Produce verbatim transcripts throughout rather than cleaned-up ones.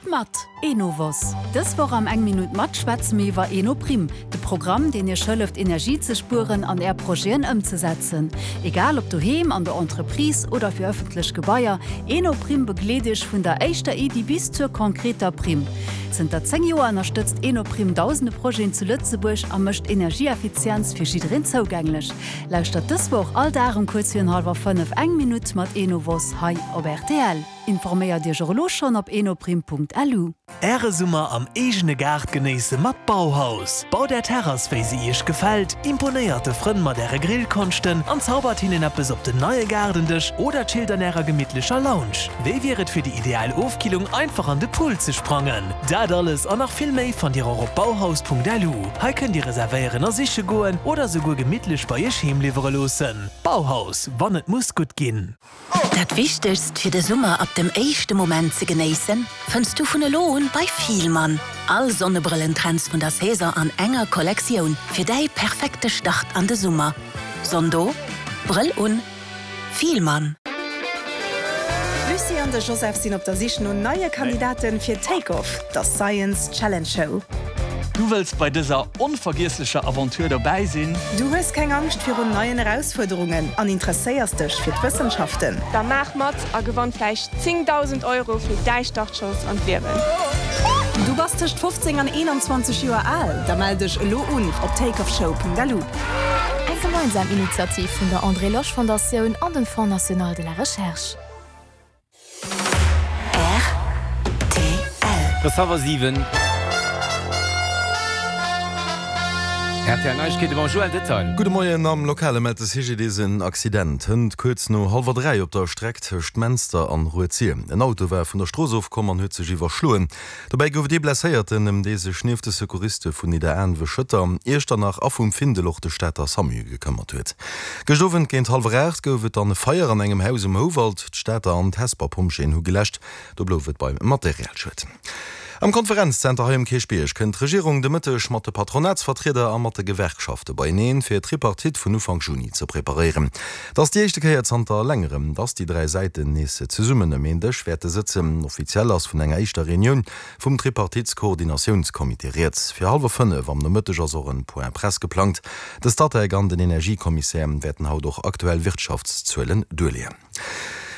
Minutt mat Enovos. Dës Woch am Eng Minutt mat schwätze mir iwwer Enoprime, de Programm, deen Iech hëlleft Energie ze spueren an Är Projeten ëmzesetzen. Egal ob doheem, an der Entreprise oder fir ëffentlech Gebaier, Enoprime begleet Iech vun der éischter Iddi bis zur konkreter Primm. Zënter zéng Joer ënnerstëtzt Enoprime dausende Projeten zu Lëtzebuerg a mécht Energieeffizienz fir jiddereen zougänglech. Lauschtert dës Woch all Dag um kuerz virun hallwer fënnef Eng Minutt mat Enovos hei op R T L. Informéiert Iech och elo schonn op enoprime Punkt L U. Äre Summer am eegene Gaart genéisse mat Bauhaus. Baut Är Terrass, wéi se Iech gefält, imponéiert de Frënn mat Äre Grillkonschten an zaubert hinnen eppes op den neie Gaardendësch oder chillt an Ärer gemittlecher Lounge. Wéi wier et fir déi ideal Ofkillung einfach an de Pool ze sprangen? Dat alles an nach vill méi fannt Dir och op bauhaus Punkt L U. Hei kënnt Dir reservéieren a siche goen oder souguer gemittlech bei Iech heem liwwere loossen. Bauhaus, wann et muss gutt ginn. Dat Wichtegst fir de Summer ab dem éischte Moment ze genéissen, fënns du vun elo un bei Fielmann. All Sonnebrëllentrends vun der Saison an enger Kollektioun fir däi perfekte Start an de Summer. Sonn do, Brëll un, Fielmann. D'Lucie an de Joseph sinn op der Sich no neie Kandidaten fir Take Off, der Science Challenge Show. Du wëlls bei dëser onvergiesslecher Aventure dobäi sinn? Du hues keng Angscht virun neien Erausfuerderungen an interesséiers dech fir d'Wëssenschaften? Da maach mat a gewann vläicht zéngdausend Euro fir däi Startschoss an d'Liewen. Du bass tëscht fofzéng an eenanzwanzeg Joer al? Da mell dech elo un op takeoffshow Punkt L U. Eng gemeinsam Initiativ vun der André Losch Fondatioun an dem Fonds national de la Recherche. R T L. Et ass siwen. R T L Neiegkeete mam Joël Detail. Gudde Moien. Am Lokale mellt de C G D I S en Accident hënt kuerz no hallwer dräi op der Streck tëscht Menster an Rued-Sir. En Auto war vun der Strooss ofkomm an huet sech iwwerschloen. Dobäi gouf et ee Blesséierten, ëm dee sech nieft de Secouriste vun Nidderaanwen, Schëtter, Iechternach a vum Findel och de Stater SAMU gekëmmert huet. Gëschter Owend géint hallwer aacht gouf et dann e Feier an engem Haus um Houwald. D'Stater an d'Hesper Pompjeeën hu geläscht. Do blouf et beim Materialschued. Am Konferenzzenter hei um Kierchbierg kënnt d'Regierung de Mëtteg mat de Patronatsvertrieder a mat de Gewerkschafte beieneen, fir d'Tripartite vun Ufank Juni ze preparéieren. Dat ass déi éischte Kéier zanter längerem, dass déi dräi Säiten nees zesummen ëm een Dësch wäerte sëtzen. Offiziell ass vun enger éischter Reunioun vum Tripartitskoordinatiounscomité rieds. Fir hallwer fënnef am Nomëtteg ass och en Point Presse geplangt. De Statec an den Energiekommissär wäerten haut och aktuell Wirtschaftszuelen duerleeën.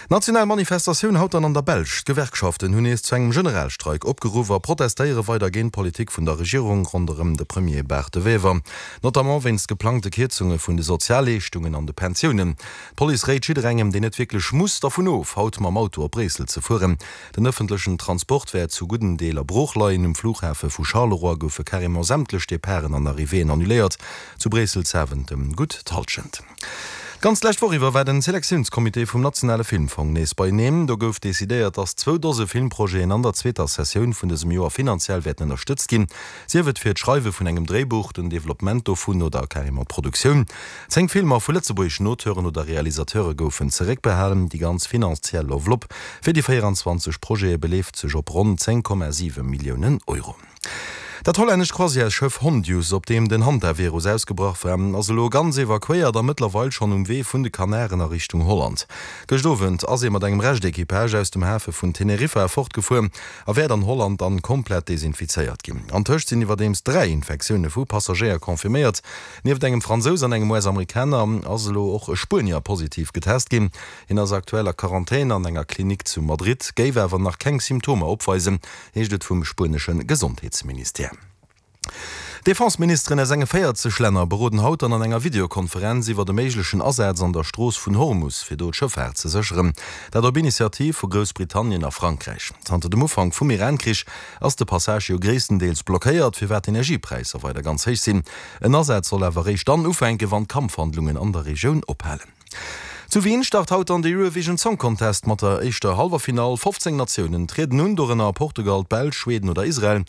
National Manifestatioun haut dann an der Belsch. D'Gewerkschaften hunn nees zu engem Generalstreik opgeruff a protestéiere weider géint d'Politik vun der Regierung ronderëm de Premier Bart De Wever, notamment wéinst geplangte Kierzunge vun de Sozialleeschtungen an de Pensiounen. D'Police réit jidderengem, deen net wierklech muss, dervun of, haut mam Auto op Bréissel ze fueren. Den ëffentlechen Transport wäert zu gudden Deeler brooch leien. Um Flughafe vu Charleroi goufe carrément sämtlech Departen an Arrivéeën annuléiert. Zu Bréissel Zaventem gutt d'Hallschent. D'ganz lescht Woch iwwer war den Selektiounscomité vum nationale Filmfong nees beieneen. Do gouf decidéiert, dass zwou Dose Filmprojeten an der zweeter Sessioun vun dësem Joer finanziell wäerten ënnerstëtzt ginn. Sief et fir d'Schreiwe vun engem Dréibuch, den Developpement dovun oder carrément d'Produktioun. Zéng Filmer vu lëtzebuergeschen Auteuren oder Realisateure goufen zeréckbehalen. Déi ganz finanziell Enveloppe fir déi véierenzwanzeg Projete beleeft sech op ronn zéng Komma siwe Milliounen Euro. Dat hollännescht Croisièresschëff Hondius, op deem den Hantavirus ausgebrach war, ass elo ganz evakuéiert a mëttlerweil schonn um Wee vun de Kanaren a Richtung Holland. Gëscht Owend ass e mat engem Rescht-Equipage aus dem Hafe vun Teneriffa fortgefuer a wäert an Holland dann komplett desinfizéiert ginn. Antëscht sinn iwwerdeems dräi Infektioune vu Passagéier confirméiert. Nieft engem Fransous an engem U S-Amerikaner ass elo och e Spuenier positiv getest ginn. Hien ass aktuell a Quarantän an enger Klinik zu Madrid, géif awer nach keng Symptomer opweisen, heescht et vum spuenesche Gesondheetsministère. D'Defenseministeren aus enge véierzeg Länner beroden haut dann an enger Videokonferenz iwwer de méiglechen Asaz an der Strooss vun Hormus, fir do d'Schëffaart ze sécheren. Dat op Initiativ vu Groussbritannien a Frankräich. Zanter dem Ufank vum Iran-Krich ass de Passage jo gréisstendeels blockéiert, firwat d'Energiepräisser weider ganz héich sinn. En Asaz soll awer réischt dann ufänken, wann d'Kampfhandlungen an der Regioun ophalen. Zu Wien start haut dann de Eurovision Song Contest mat der éischter Halleffinall. fofzéng Natiounen trieden un, dorënner Portugal, d'Belsch, Schweden oder Israel.